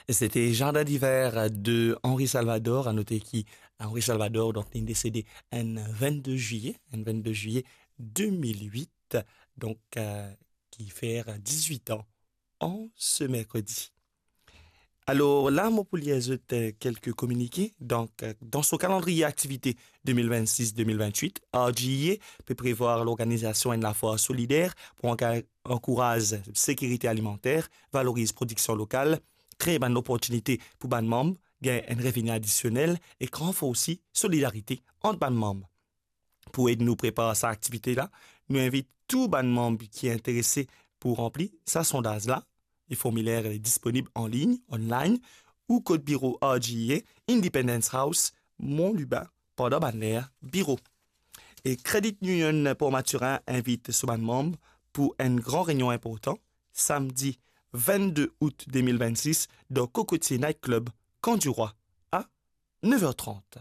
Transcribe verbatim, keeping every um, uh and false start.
C'était Jardin d'hiver de Henri Salvador. À noter ki Henri Salvador, donk, li desede enn vennde zilye, enn vennde zilye de mil wit, donk, euh, ki fer dizwit an an se merkredi. Alor la, mo pou lir zot, euh, kelke kominike. Donk, euh, dan so kalandriye aktivite de mil vennsis de mil vennwit, R G E A pe prevwar lorganizasion enn lafwar solider pou anka-, ankouraz sekirite alimanter, valoriz prodiksion lokal, kre bann loportinite pou bann manm gagn enn revini adisionel ek ranforsi solidarite ant bann manm. Pou ed nou prepar sa aktivite la, nou invit tou bann manm ki interese pou ranpli sa sondaz la. Li formiler li disponib anlign, online, ou kot biro R G E A, Independence House, Mont Lubin, pandan bann ler biro. E Credit Union Port Mathurin invit so bann manm pou enn gran reynion inportan, samdi vennde out de mil vennsis, dan Cocotier Night Club, Camp du Roi, a nev er trant.